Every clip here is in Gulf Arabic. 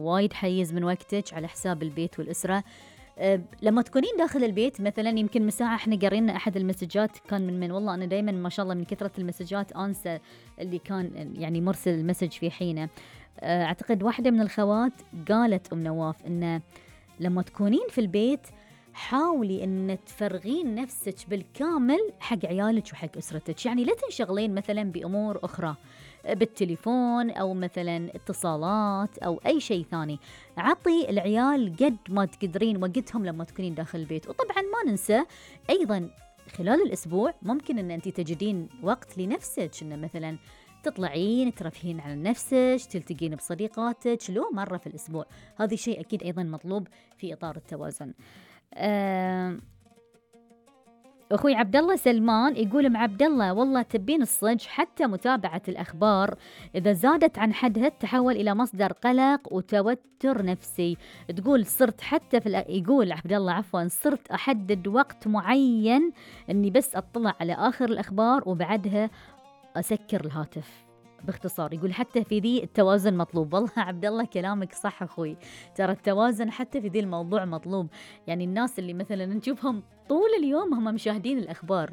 وايد حيز من وقتك على حساب البيت والأسرة. لما تكونين داخل البيت مثلا، يمكن مساحة احنا قرينا أحد المسجات كان من والله أنا دايما ما شاء الله من كثرة المسجات أنسى اللي كان يعني مرسل المسج في حينه. أعتقد واحدة من الخوات قالت نواف إنه لما تكونين في البيت حاولي إن تفرغين نفسك بالكامل حق عيالك وحق أسرتك. يعني لا تنشغلين مثلا بأمور أخرى، بالتليفون أو مثلا اتصالات أو أي شيء ثاني. عطي العيال قد ما تقدرين وقتهم لما تكونين داخل البيت. وطبعا ما ننسى أيضا خلال الأسبوع ممكن أن أنت تجدين وقت لنفسك، إن مثلا تطلعين ترفهين على نفسك، تلتقين بصديقاتك لو مرة في الأسبوع. هذا شيء أكيد أيضا مطلوب في إطار التوازن. أخوي عبد الله سلمان يقول مع عبد الله والله تبين الصج حتى متابعة الأخبار إذا زادت عن حدها تحول إلى مصدر قلق وتوتر نفسي. تقول صرت حتى يقول عبد الله عفوا صرت أحدد وقت معين إني بس أطلع على آخر الأخبار وبعدها أسكر الهاتف. باختصار يقول حتى في ذي التوازن مطلوب. والله عبد الله كلامك صح أخوي، ترى التوازن حتى في ذي الموضوع مطلوب. يعني الناس اللي مثلا نشوفهم طول اليوم هم مشاهدين الأخبار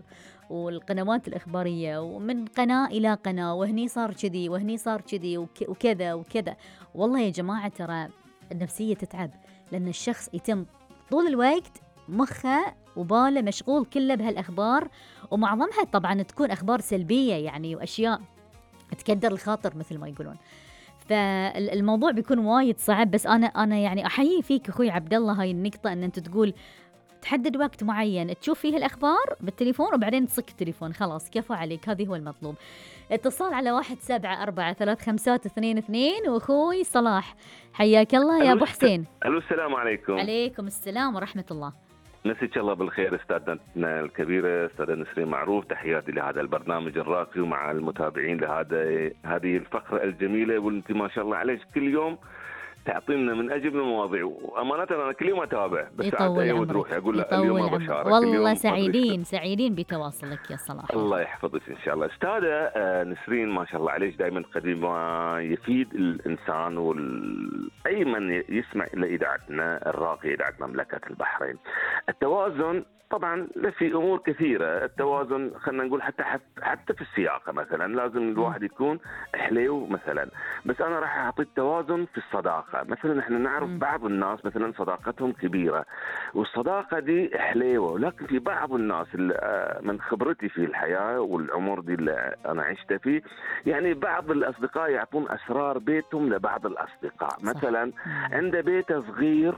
والقنوات الإخبارية ومن قناة إلى قناة، وهني صار كذي وهني صار كذي وكذا وكذا. والله يا جماعة ترى النفسية تتعب، لأن الشخص يتم طول الوقت مخه وباله مشغول كله بهالأخبار، ومعظمها طبعا تكون أخبار سلبية يعني وأشياء تكدر الخاطر مثل ما يقولون. فالموضوع بيكون وايد صعب. بس أنا يعني أحيي فيك أخوي عبد الله هاي النقطة، أن أنت تقول تحدد وقت معين تشوف فيه الأخبار بالتليفون وبعدين تصك التليفون، خلاص كفو عليك، هذه هو المطلوب. اتصال على 174332 وأخوي صلاح، حياك الله يا أبو حسين. ألو السلام عليكم. عليكم السلام ورحمة الله. مساك الله بالخير استاذتنا الكبيرة استاذة نسرين معروف، تحياتي لهذا البرنامج الراقي ومع المتابعين هذه الفقرة الجميلة، وانت ما شاء الله عليك كل يوم تعطينا من أجل المواضيع، وأمانة أنا كل يوم أتابع بس ساعات أيود روحي أقول لا اليوم ما بشارك. والله سعيدين بتواصلك يا صلاح. الله يحفظك إن شاء الله. أستاذة نسرين ما شاء الله عليك دائما تقدم ما يفيد الإنسان أي من يسمع إلى إذاعتنا الراقية إذاعة مملكة البحرين. التوازن طبعا في أمور كثيرة، التوازن خلينا نقول حتى في السياقة مثلا لازم الواحد يكون حليو مثلا، بس أنا راح أعطي التوازن في الصداقة. مثلا احنا نعرف بعض الناس مثلا صداقتهم كبيرة والصداقة دي حليوة، ولكن في بعض الناس من خبرتي في الحياة والعمر دي اللي أنا عشت فيه، يعني بعض الأصدقاء يعطون أسرار بيتهم لبعض الأصدقاء. مثلا عنده بيته صغير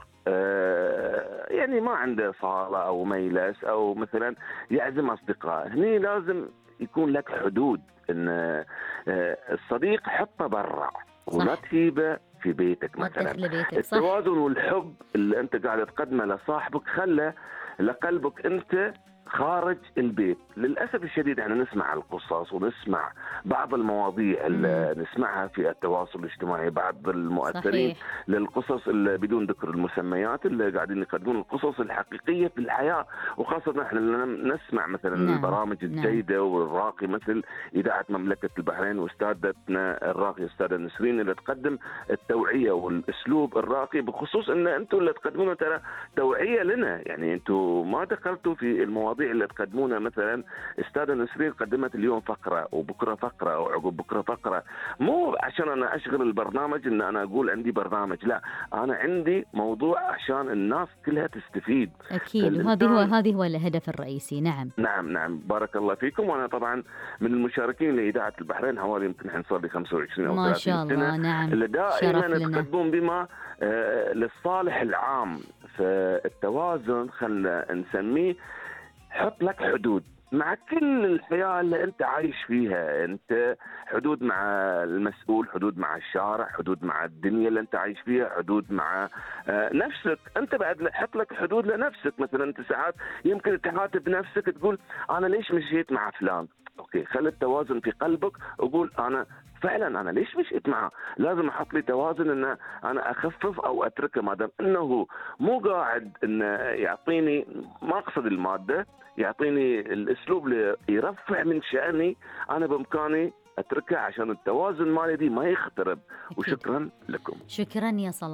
يعني ما عنده صالة أو مجلس أو مثلا يعزم أصدقاء، هني لازم يكون لك حدود، إن الصديق حطه برا ولا تجيبه في بيتك مثلا. التوازن والحب اللي أنت قاعد تقدمه لصاحبك خله لقلبك أنت خارج البيت. للأسف الشديد احنا نسمع القصص ونسمع بعض المواضيع اللي نسمعها في التواصل الاجتماعي، بعض المؤثرين صحيح. للقصص اللي بدون ذكر المسميات اللي قاعدين يقدمون القصص الحقيقية في الحياة، وخاصة احنا نسمع مثلا البرامج الجيدة والراقي مثل إذاعة مملكة البحرين واستاذتنا الراقية أستاذة نسرين اللي تقدم التوعية والأسلوب الراقي، بخصوص ان انتم اللي تقدمونه ترى توعية لنا، يعني انتم ما دخلتوا في المواضيع اللي تقدمونها. مثلا استاذة نسرين قدمت اليوم فقرة وبكرة فقرة وعقب بكرة فقرة، مو عشان أنا أشغل البرنامج إن أنا أقول عندي برنامج، لا أنا عندي موضوع عشان الناس كلها تستفيد. أكيد، وهذه هو الهدف الرئيسي. نعم بارك الله فيكم. وأنا طبعا من المشاركين لإذاعة البحرين حوالي يمكن حنصل لي 25 أو 30 سنة ما شاء الله. نعم، اللي دائما تقدمون بما للصالح العام. فالتوازن خلنا نسميه حط لك حدود مع كل الحياة اللي أنت عايش فيها، أنت حدود مع المسؤول، حدود مع الشارع، حدود مع الدنيا اللي أنت عايش فيها، حدود مع نفسك. أنت بعد حط لك حدود لنفسك. مثلا أنت ساعات يمكن تحاسب نفسك تقول أنا ليش مشيت مع فلان، أوكي خلي التوازن في قلبك وقول أنا فعلا أنا ليش مشيت معه، لازم أحط لي توازن أن أنا أخفف أو أتركه، ما دام أنه مو قاعد أن يعطيني، ما أقصد المادة، يعطيني الأسلوب اللي يرفع من شأني، أنا بإمكاني أتركه عشان التوازن مالي دي ما يخترب. وشكرا لكم. شكرا يا صلاح.